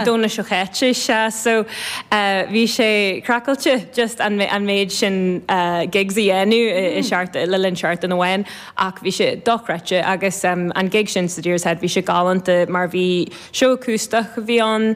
An Domhnach seo chaite, sea. So bhí sé craiceáilte just an méid sin gigs a dhéanamh i seachtain, le linn seachtain amháin ach bhí sé dochreidte agus an gig sin sa Deer's Head bhí sé galánta mar bhí seó acústach a bhí ann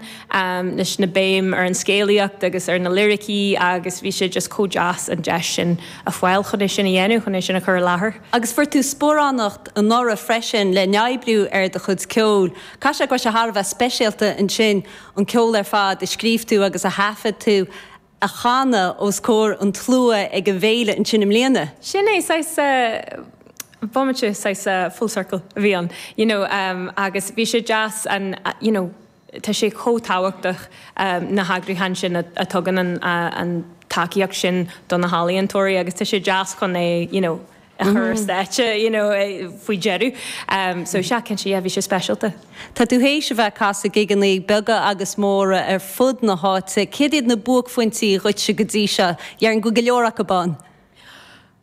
leis na béim ar an scéalaíocht agus ar na liricí agus bhí sé just chomh deas an deis sin a fáil chun é sin a dhéanamh, chun é sin a chur i láthair. Agus fuair tú sparánacht anuraidh freisin le n-oibriú ar do chuid ceoil. Caithfidh sé go raibh sé thar a bheith speisialta ansin an ceol ar fad a scríobh tú agus a thaifead tú a chanadh os comhair an tslua ag an bhféile ansin i mbliana. Sin é, saghas bomaite, saghas full circle a bhí ann, you know, agus bhí sé deas an, you know, tá sé chomh tábhachtach na heagrúcháin sin a tugann an tacaíocht sin do na healaíontóirí agus tá sé deas chun é, you know, a chur ar stáitse, you know, faoi dheireadh. So sea, cinnte, yeah, bhí sé speisialta. Tá tú théis a bheith ag casadh gigeanna beaga agus móra ar fud na háite. Céard iad na buaicphointí dhuitse go dtí seo? Déarfainn go bhfuil go leor acu ann.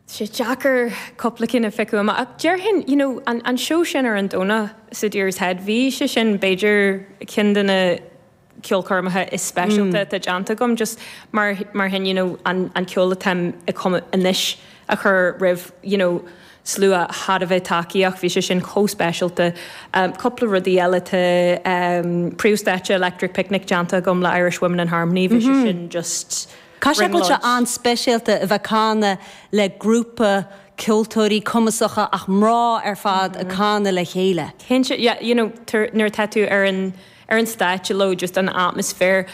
Tá sé deacair cúpla cinn a phiocadh amach ach déarfainn, you know, an an seó sin ar an Domhnach sa Deer's Head, bhí sé sin b'fhéidir ceann de na ceolchoirmeacha is speisialta atá déanta agam just mar mar sin, you know, an an ceol atáim ag cumadh anois a chur roimh, you know, slua thar a bheith tacaíoch, bhí sé sin chomh speisialta. Cúpla rudaí eile tá príomhstáitse Electric Picnic déanta agam le Irish Women in Harmony, bhí sé sin just Caithfidh sé go bhfuil sé an-speisialta a bheith ag canadh le grúpa ceoltóirí cumasacha ach mná ar fad ag canadh le chéile. Cinnte, yeah, you know, nuair atá tú ar an ar an stáitse leo, just an atmaisféar,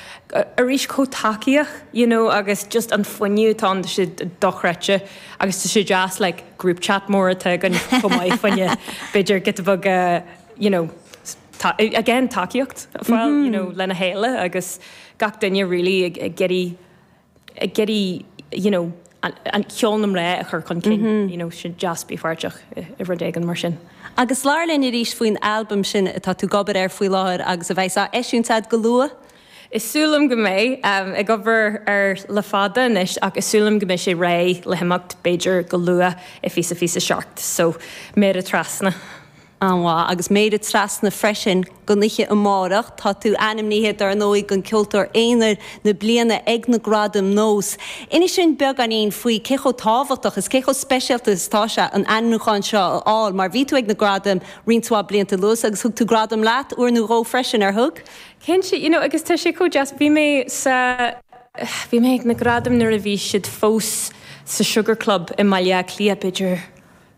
arís chomh tacaíoch, you know, agus just an fuinneamh atá ann, tá sé dochreidte agus tá sé deas like group chat mór atá againn chomh maith fá choinne b'fhéidir giota beag you know, again tacaíocht a fháil, you know, lena chéile agus gach duine really ag iarraidh ag iarraidh you know an ceol na mná a chur chun cinn, you know, sin deas bheith páirteach i rud éigin mar sin. Agus labhair linn arís faoin albam sin atá tú ag obair air faoi láthair agus a bheas á eisiúint agat go luath. Is súil liom go mbeidh. Ag obair air le fada anois ach is súil liom go mbeidh sé réidh le himeacht b'fhéidir go luath i fiche 27 so méara trasna. An-mhaith. Agus méara trasna freisin don oíche amárach. Tá tú ainmnithe, dar ndóigh, don Ceoltóir Aonair na Bliana ag na Gradaim Nós. Inis dúinn beagáinín faoi cé chomh tábhachtach is cé chomh speisialta is atá sé an ainmniúchán seo a fháil, mar bhí tú ag na Gradaim roinnt mhaith blianta anuas agus thug tú gradam leat uair nó dhó freisin, ar thug? Cinnte, you know, agus tá sé chomh deas. Bhí mé sa, bhí mé ag na Gradaim nuair a bhí siad fós sa Sugar Club i mBaile Átha Cliath, b'fhéidir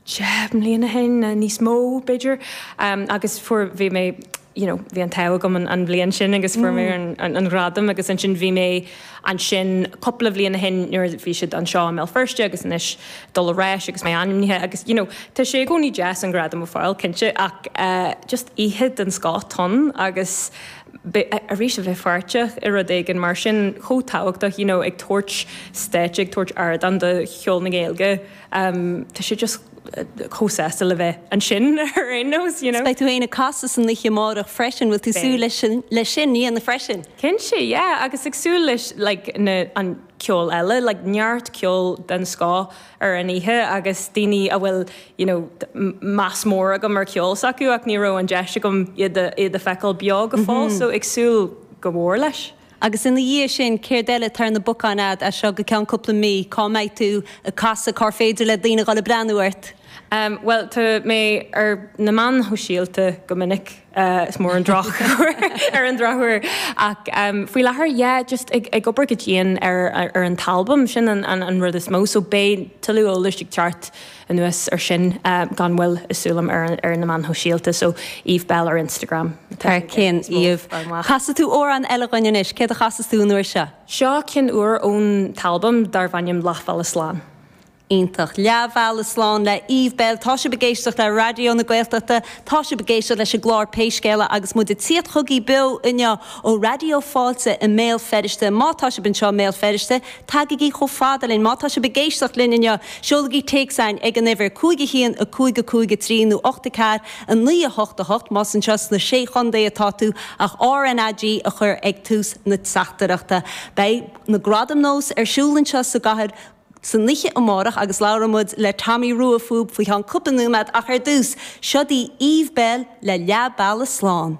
10 mbliana ó shin, níos mó b'fhéidir, agus fuair, bhí mé, you know, bhí an t-ádh agam an bhliain sin agus fuair mé an gradam agus ansin bhí mé ansin cúpla bhliain ó shin nuair a bhí siad anseo i mBéal Feirste agus anois dul ar ais agus mé ainmnithe agus, you know, tá sé i gcónaí deas an gradam a fháil, cinnte, ach just oíche den scoth ann agus arís a bheith páirteach i rud éigin mar sin chomh tábhachtach, you know, ag tabhairt stáitse, ag tabhairt ardán do cheol na Gaeilge. Tá sé just chomh sásta le bheith ansin ar aon nós, you know. Beidh tú féin ag casadh san oíche amárach freisin, bhfuil tú ag súil leis sin, leis sin a dhéanamh freisin? Cinnte, yeah, agus ag súil leis like na, an ceol eile, like neart ceol den scoth ar an oíche agus daoine a bhfuil, you know, meas mór agam ar ceol s'acu ach ní raibh an deis agam iad a, iad a feiceáil beo go fóill, so ag súil go mór leis. Agus ina dhiaidh sin, céard eile atá ar na bacáin a'd as seo go ceann cúpla mí? Cá mbeidh tú ag casadh? Cár féidir le daoine dhul ag breathnú ort? Bhuel, tá mé ar na meáin shóisialta go minic, is mór an droch ar an drochuair. Ach faoi láthair, yeah, just ag obair go dian ar an t-albam, sin an rud is mó. So beidh tuilleadh eolais ag teacht anuas ar sin gan mhoill is súil liom ar na meáin shóisialta so Eve Belle ar Instagram. Thar cionn Eve. Casfaidh tú amhrán eile dhuinn anois, céard a chasfas tú an uair seo? Seo ceann úr ón t-albam darb ainm Leathbhealach Slán. Iontach. Leathbhealach Slán le Eve Belle. Tá sibh ag éisteacht le Raidió na Gaeltachta, tá sibh ag éisteacht leis an gclár Pé Scéal É agus muid ag tíocht chugaibh beo inniu ó Raidió Fáilte i mBéal Feirste. Má tá sibh anseo i mBéal Feirste, Tagaigí chomh fada linn. Má tá sibh ag éisteacht linn inniu, seolaigí téacs chugainn ag an uimhir 5 1 5 5 3 nó 8 4 9 8 8 más anseo sna Sé Chontae atá tú, ach RnaG a chur ag tús na teachtaireachta. Beidh na Gradaim Nós ar siúl anseo sa gcathair san oíche amárach agus labhróidh muid le Tommy Rua fúthu faoi cheann cúpla nóiméad ach ar dtús, seo daoibh Eve Belle le Leath Bealaigh Slán.